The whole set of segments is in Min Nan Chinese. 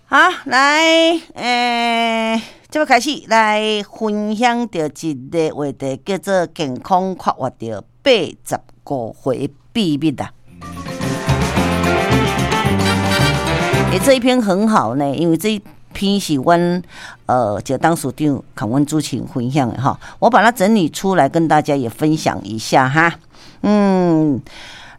好，來，這欲開始來分享著一个話題，叫做健康快活著八十五歲秘密啦。欸，這一篇很好呢，因為這一篇是阮一个董事長共阮主持人分享的哈，我把它整理出來跟大家也分享一下哈。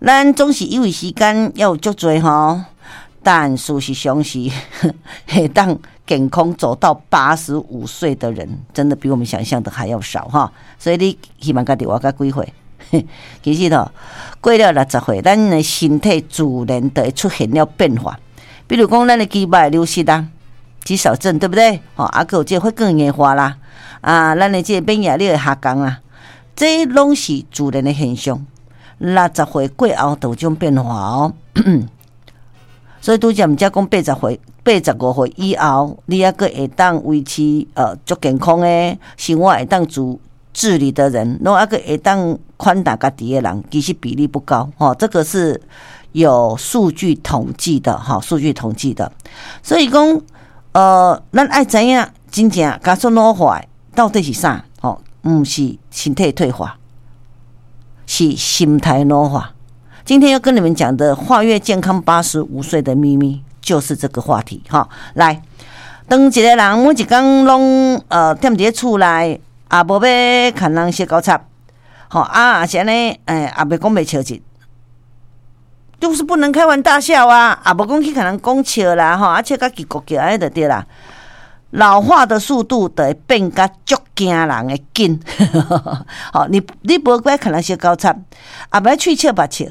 咱總是以為時間猶有足濟吼，但事實上是會當健康走到85歲的人，真的比我們想象的還要少哈。所以你希望家己活到幾歲？其實吼，過了60歲，咱的身體自然就會出現了變化。比如講，咱的肌肉會流失啊，肌少症，對不對？吼，啊，閣有這個血管硬化啦，啊，咱的這個免疫力會下降啊，這攏是自然的現象。60歲過後，就有這種變化哦。所以拄才毋才講80歲、85歲以後，你猶閣會當維持足健康的生活，會當自理的人，攏猶閣會當寬待家己的人，其實比例不高吼。這個是有數據統計的哈，數據統計的。所以講，咱愛知影真正加速老化到底是啥？吼，毋是身體退化，是心態老化。今天要跟你們講的跨越健康八十五歲的秘密，就是這個話題哈。來，當一個人每一工攏踮佇咧厝內，也無欲共人相交插，吼啊，是按呢，也袂講袂笑一，就是不能開玩大笑啊，也無講去共人講笑啦，吼啊笑甲嘰咕叫按呢就對啦。老化的速度就會變甲足驚人的緊，吼，你無愛共人相交插，也袂喙笑目笑。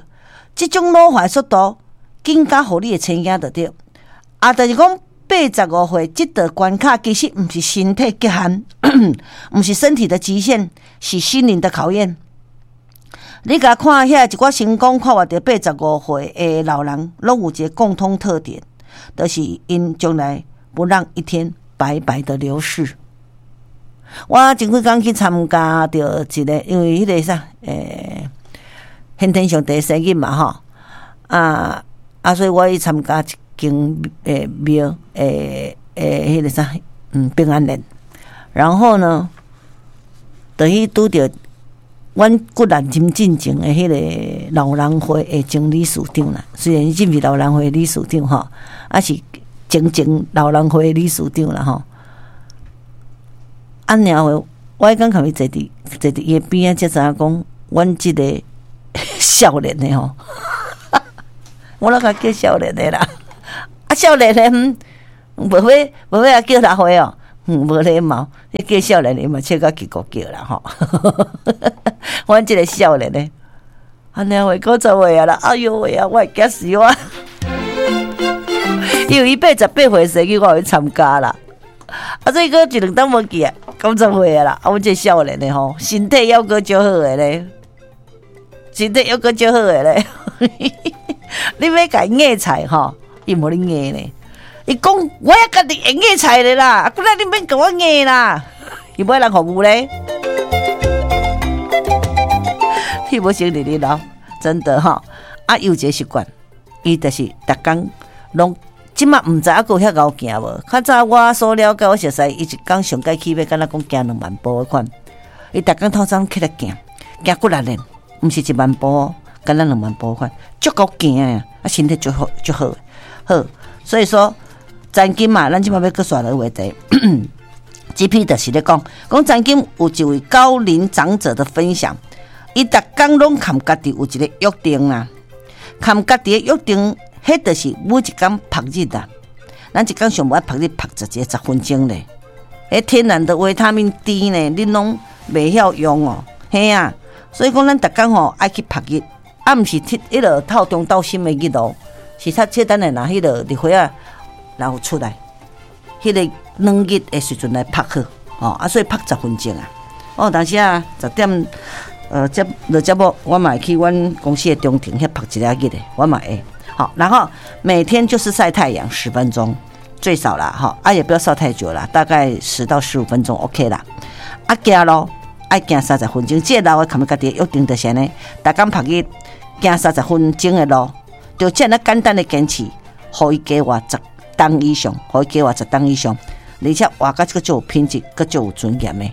這種老化速度，緊甲予你會青驚著對。啊，就是講八十五歲這道關卡，其實毋是身體極限，毋是身體的極限，是心靈的考驗。你共看遐一寡成功跨越著八十五歲的老人，攏有一個共通特點，就是𪜶從來不讓一天白白的流逝。我前幾工去參加著一個，因為彼個啥，先天上帝生日嘛吼，啊啊，所以我去參加一間廟彼個啥，平安宴。然後呢，就去拄著阮骨力針進前的彼個老人會的前理事長啦。雖然伊這毋是老人會理事長吼，啊是前前老人會理事長啦吼。啊，然後我彼工共伊坐佇伊的邊仔，才知影講，阮這個少年的吼，我攏共叫少年的啦。啊，少年的，無欲叫老歲哦，無禮貌，你叫少年的嘛，笑甲嘰咕叫啦吼。阮這個少年的，按呢話90歲啊啦，哎喲喂啊，我會驚死我。因為伊88歲生日，我有去參加啦。啊，所以閣一兩冬無去啊，90歲啊啦。啊，阮這個少年的吼，身體猶閣足好的咧。身體猶閣足好的咧，你欲共伊硬菜吼，伊無咧硬咧。伊講我猶家己會硬菜的啦，啊，閣來你免共我硬啦，伊無愛人服務咧。伊無先佇咧老，真的吼。啊，伊有一個習慣，伊就是逐工攏這馬毋知猶閣有遐𠢕行無。較早我所了解，我熟似伊一工上蓋起碼敢若講行2萬步彼款。伊逐工透早起來行，行幾若咧。毋是1萬步哦，敢若2萬步款，足夠行的啊，身體足好足好好。所以說，曾經嘛，咱這馬欲閣煞落話題，這篇就是咧講，講曾經有一位高齡長者的分享，伊逐工攏含家己有一個約定啦，含家己的約定，彼就是每一工曝日啦。咱一工上無愛曝日曝十一十分鐘咧，彼天然的維他命 D 呢，恁攏袂曉用哦，嘿啊。所以講，咱逐工吼愛去曝日，啊，毋是鐵彼落透中晝深的日哦，是較簡單的，若彼落日晖仔然後出來，彼個暖日的時陣來曝好，吼啊，所以曝十分鐘啊。哦，當時啊，10點，接落節目，我嘛會去阮公司的中庭遐曝一下日的，我嘛會。好，然後每天就是曬太陽十分鐘，最少啦，吼，啊，也不要曬太久啦，大概10到15分鐘 OK 啦。啊，行路。愛行三十分鐘，這個老的含家己約定就是按呢，逐工曝日行三十分鐘的路，就這樣簡單的堅持，予伊加活十冬以上，予伊加活十冬以上，而且活甲這個足有品質，閣足有尊嚴的。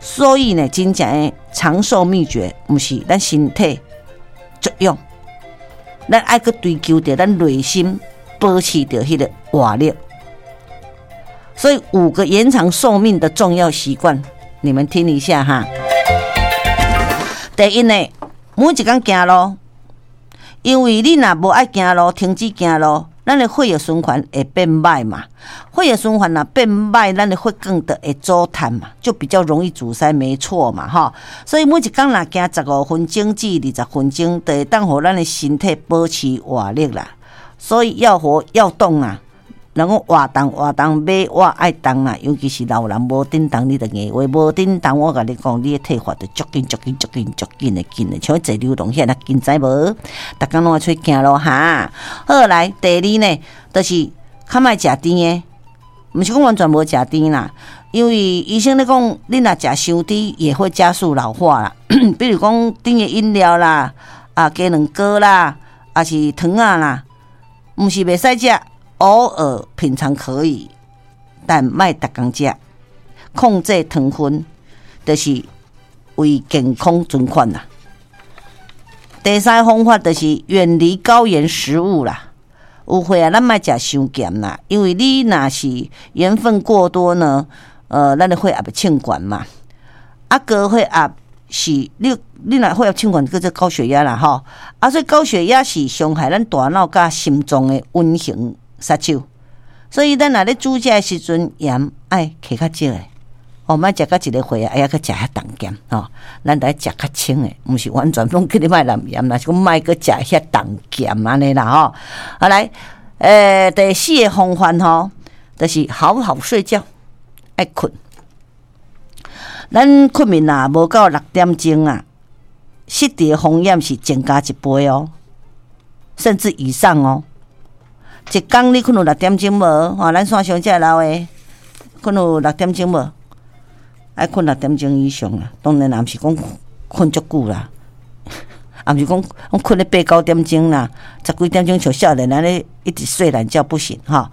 所以呢，真正的長壽秘訣，毋是咱身體作用，咱愛閣追求著咱內心保持著彼個活力。所以五個延長壽命的重要習慣，你們聽一下哈。第一呢，每一工行路，因為你若無愛行路，停止行路，咱的血液循環會變歹嘛。血液循環若變歹，咱的血管就會阻塞嘛，就比較容易阻塞，沒錯嘛，吼。所以每一工若行15分鐘至20分鐘，就會當予咱的身體保持活力啦。所以要活要動啊。人講活動活動，馬活愛動啊，尤其是老人無振動，你就硬話無振動，我共你講，你的退化就足緊足緊足緊足緊的緊的，像坐流動遐若緊，知無？逐工攏愛出去行路哈。好來，第二呢，就是較莫食甜的，毋是講完全無食甜啦，因為醫生咧講，你若食傷甜也會加速老化啦。比如講甜的飲料啦，啊雞卵糕啦，抑是糖仔啦，毋是袂使食。偶爾品嘗可以，但莫逐工食。控制糖分，就是為健康存款啦。第三個方法就是遠離高鹽食物啦。有歲啊，咱莫食傷鹹啦，因為你若是鹽分過多呢，咱的血壓會衝懸嘛。啊，高血壓是你若血壓衝懸，叫做高血壓啦，吼。啊，所以高血壓是傷害咱大腦佮心臟的隱形殺手，所以咱若咧煮食的時陣，鹽愛加較少的，哦，莫食到一個歲啊，愛閣食遐重鹹，吼，咱著愛食較清的，毋是完全攏叫你莫淋鹽，若是講莫閣食遐重鹹按呢啦，吼。好來，第四個方法吼，就是好好睡覺，愛睏。咱睏眠若無夠6點鐘啊，失智的風險是增加一倍哦，甚至以上哦。一工你睏有六點鐘無？吼，咱線上遮老的，睏有六點鐘無？愛睏六點鐘以上啦。當然也毋是講睏足久啦，也毋是講講睏咧八九點鐘啦，十幾點鐘像少年按呢一直睡懶覺不行哈。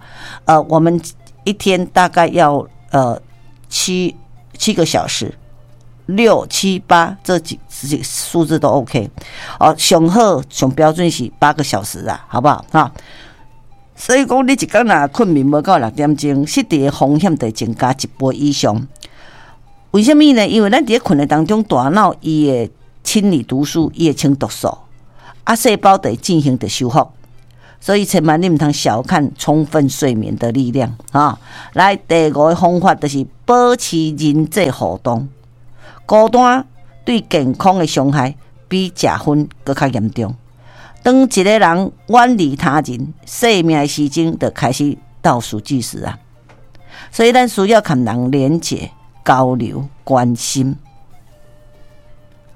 我們一天大概要7個小時，六七八這幾數字都 OK。哦，上好上標準是8個小時啊，好不好？哈。所以講，你一工若睏眠無夠六點鐘，失智的風險就會增加一倍以上。為啥物呢？因為咱佇咧睏的當中，大腦伊會清理毒素，伊會清毒素，啊，細胞就會進行著修復。所以千萬你毋通小看充分睡眠的力量啊！來，第五個方法就是保持人際互動。孤單對健康的傷害比食薰閣較嚴重。當一個人遠離他人，生命的時鐘就開始倒數計時啊！所以咱需要佮人連結、交流、關心、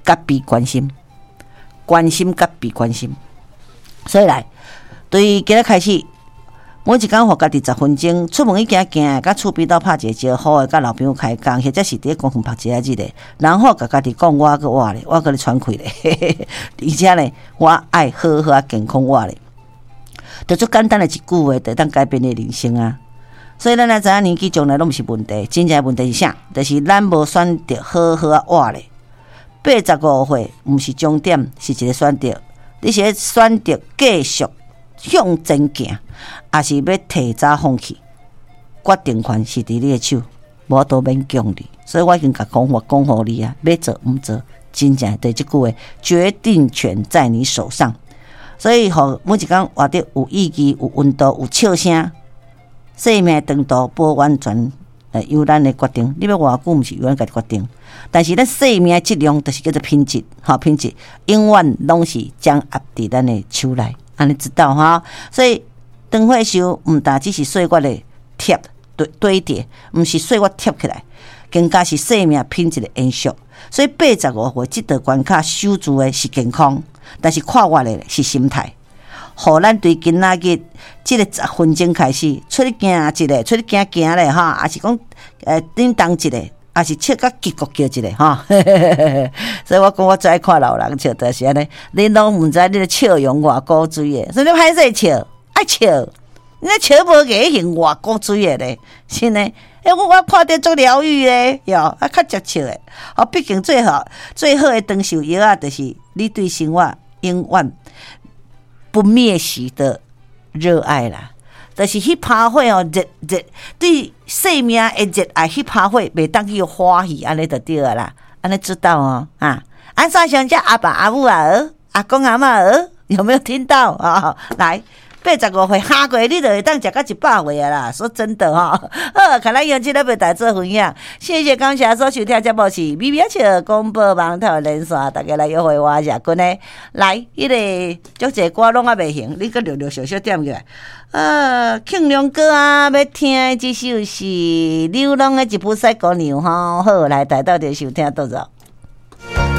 佮被關心、關心佮被關心。所以來，對今仔開始，每一工予家己10分鐘，出門去行行，佮厝邊兜拍一個招呼的，佮老朋友開講，或者是佇咧公園拍一下日的，然後共家己講，我閣活咧，我閣咧喘氣咧，而且呢，我愛好好啊健康活咧，就足簡單的一句話，就會當改變你的人生啊！所以咱來知影年紀將來攏毋是問題，真正的問題是啥？就是咱無選擇好好啊活咧。85歲毋是終點，是一個選擇。你是咧選擇繼續向前行，抑是欲提早放棄？決定權是佇你的手，無法度勉強你。所以我已經共講法講予你啊，欲做毋做，真正對這句話，決定權在你手上。所以，予每一工活得有意義、有溫度、有笑聲，生命長度無完全由咱來決定。你欲活偌久，毋是由咱家己決定。但是咱生命的質量，就是叫做品質，吼品質永遠攏是掌握佇咱的手內，按呢知道哈？所以長歲壽毋但只是歲月的疊堆堆疊，毋是歲月疊起來，更加是生命品質的延續。所以85歲這道關卡守住的是健康，但是跨越的是心態。予咱對今仔日這個十分鐘開始出去行一下，出去行行咧哈，抑是講振動一下，抑是笑甲叽咕叫一下哈。所以我講我最愛看老人笑，就是按呢，恁攏毋知你的笑容偌古錐的，所以你歹勢笑，愛笑。你笑無牙已經偌古錐的咧，是呢？欸，我看著足療癒的，喲，啊較接笑的。哦，畢竟最好最好的長壽藥仔，就是你對生活永遠不滅時的熱愛啦。就是彼趴火哦，熱熱對生命的熱愛，彼趴火袂當去花去，按呢就對啦。按呢知道哦，啊，按怎想遮阿爸阿母啊，阿公阿嬤，有沒有聽到啊？來。85歲下過你就會當食到100歲啊啦！說真的吼，好，看咱用這個來做分享，謝謝感謝所收聽節目是咪咪笑廣播網頭連線，大家來約會我謝君的來，彼个足濟歌攏猶未行，你閣陸陸續續點起來。慶良哥啊，欲聽的這首是劉朗的《一步西姑娘》吼，好，來帶到佇收聽，多謝。